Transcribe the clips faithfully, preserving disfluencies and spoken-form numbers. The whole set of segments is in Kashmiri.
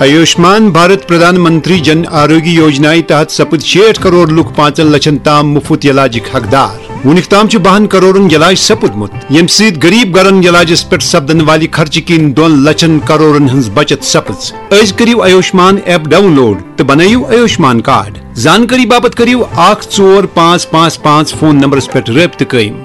آیوشمان بھارت پردھان منتری جن آروگیہ یوجنایہِ تحت سپٕدۍ شیٹھ کرور لُکھ پانٛژن لچھن تام مُفت علاجٕکۍ حقدار۔ وُنیُک تام چھُ بَہَن کرورن علاج سپُدمُت، ییٚمہِ سۭتۍ غریب گرن علاجس پٮ۪ٹھ سپدن والہِ خرچہٕ کِنۍ دۄن لچھن کرورن ہٕنٛز بچت سپٕز۔ أزۍ کٔرِو آیوشمان ایپ ڈاؤن لوڈ تہٕ بنٲیِو آیوشمان کارڈ۔ زانکٲری باپتھ کٔرِو اکھ ژور پانٛژھ پانٛژھ پانٛژھ فون نمبرس پٮ۪ٹھ رٲبطہٕ قٲیِم۔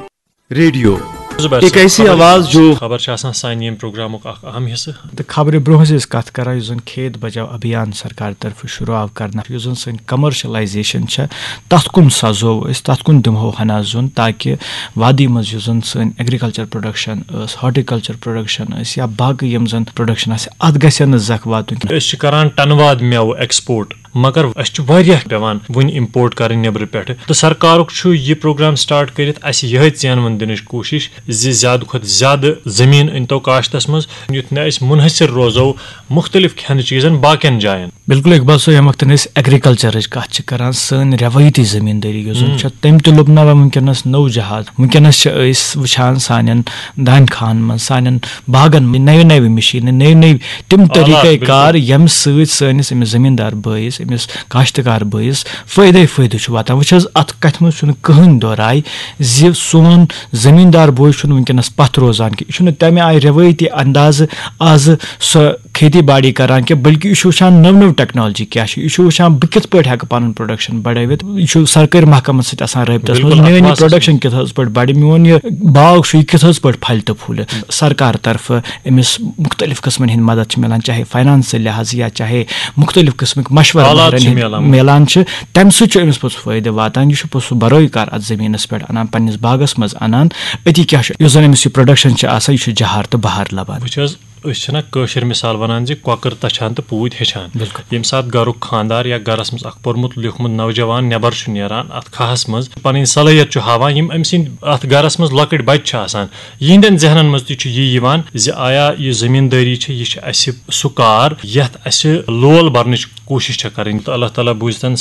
ریڈیو۔ زبیر ایک صٲب، ایسی خبر آواز جو خبر چھِ آسان سانہِ ییٚمہِ پروگرامُک اکھ اہم حصہٕ۔ تہٕ خبرِ برونٛہہ ٲسۍ أسۍ کتھ کران، یُس زن کھیت بچاو ابھیان سرکار طرفہٕ شروع آو کرنہٕ، یُس زن سٲنۍ کمرشلائزیشن چھےٚ، تتھ کُن سزو أسۍ، تتھ کُن دِمہو ہنا زوٚن، تاکہِ وادی منٛز یُس زن سٲنۍ ایگریکلچر پروڈکشن ٲس، ہارٹیکلچر پروڈکشن ٲس، یا باقٕے یِم زن پروڈکشن آسہِ، اتھ گژھِ نہٕ زکھ واتُن کینٛہہ۔ أسۍ چھِ کران ٹنہٕ واد مٮ۪وٕ ایکسپورٹ، مگر اَسہِ چھُ واریاہ پٮ۪وان وُنہِ import کَرٕنۍ نیٚبرٕ پٮ۪ٹھٕ۔ تہٕ سرکارُک چھُ یہِ پروگرام start کٔرِتھ اَسہِ یِہوٚے ژینوُن دِنٕچ کوٗشِش زِ زیادٕ کھۄتہٕ زیادٕ زٔمیٖن أنۍتو کاشتَس منٛز، یُتھ نہٕ أسۍ مُنحصر روزو مُختٔلِف کھٮ۪نہٕ چیٖزَن باقیَن جایَن۔ بِلکُل اقبال صٲب، ییٚمہِ وقتہٕ أسۍ ایگریکلچرٕچ کَتھ چھِ کَران، سٲنۍ رٮ۪وٲیتی زٔمیٖندٲری یۄس زَن ہُم۔ چھےٚ، تٔمۍ تہِ لوٚب نہ وۄنۍ وٕنکیٚنَس نوٚو جہاز۔ وٕنکیٚنَس چھِ أسۍ وٕچھان سانٮ۪ن دانہِ کھاہَن منٛز، سانٮ۪ن باغَن منٛز نَوِ نَوِ مِشیٖنہٕ، نٔوۍ نٔوۍ تِم آلات، طریٖقے بِلکُل۔ کار، ییٚمہِ سۭتۍ سٲنِس أمِس زٔمیٖندار بٲیِس، أمِس کاشتکار بٲیِس فٲیدَے فٲیدٕ چھُ واتان۔ وٕچھ حظ، اَتھ کَتھِ منٛز چھُنہٕ کٕہٕنۍ دو راے زِ سون زٔمیٖندار بوے چھُنہٕ وٕنکیٚنَس پَتھ روزان کینٛہہ۔ یہِ چھُنہٕ تَمہِ آیہِ رٮ۪وٲیتی اندازٕ آزٕ سۄ کھیتی باڑی کران کینٛہہ، بلکہِ یہِ چھُ وٕچھان نٔو نٔو ٹیکنالوجی کیٛاہ چھِ، یہِ چھُ وٕچھان بہٕ کِتھ پٲٹھۍ ہٮ۪کہٕ پَنُن پروڈکشن بڑٲوِتھ، یہِ چھُ سرکٲرۍ محکمن سۭتۍ آسان رٲبطس بِلکُل، منٛز، اَتھ میٲنۍ یہِ پروڈکشن کِتھ حظ پٲٹھۍ بڑِ، میون یہِ باغ چھُ، یہِ کِتھ حظ پٲٹھۍ پھلہِ تہٕ پھوٗلہِ۔ سرکار طرفہٕ أمِس مُختٔلِف قٕسمَن ہٕنٛدۍ مدد چھِ مِلان، چاہے فاینانشل لحاظ یا چاہے مُختٔلِف قٕسمٕکۍ مشورٕ آلات ماہرن چھِ ہٕنٛدۍ مِلان۔ مِلان چھِ، تَمہِ سۭتۍ چھُ أمِس پوٚتُس فٲیدٕ واتان۔ یہِ چھُ پوٚتُس سُہ بروے کار اَتھ زٔمیٖنَس پٮ۪ٹھ اَنان، پنٛنِس باغَس منٛز اَنان۔ أتی کیٛاہ چھُ، یُس زَن أمِس یہِ پروڈَکشَن چھِ آسان، یہِ چھُ جہار تہٕ بہار لَبان۔ وٕچھ حظ، أسۍ چھِنہ کٲشِر مِثال وَنان زِ کۄکٕر تَچھان تہٕ پوٗتۍ ہیٚچھان۔ بِلکُل۔ ییٚمہِ ساتہٕ گَرُک خانٛدار یا گَرَس منٛز اَکھ پوٚرمُت لیوٚکھمُت نوجوان نٮ۪بَر چھُ نیران اَتھ کھاہَس منٛز، پَنٕنۍ صلٲحیت چھُ ہاوان، یِم أمۍ سٕنٛدۍ اَتھ گَرَس منٛز لۄکٕٹۍ بَچہِ چھِ آسان، یِہِنٛدٮ۪ن ذہنَن منٛز تہِ چھُ یی یِوان زِ آیا یہِ زٔمیٖندٲری چھِ، یہِ چھِ اَسہِ سُہ کار یَتھ اَسہِ لول بَرنٕچ کوٗشِش چھےٚ کَرٕنۍ۔ تہٕ اللہ تعالیٰ بوٗزتَن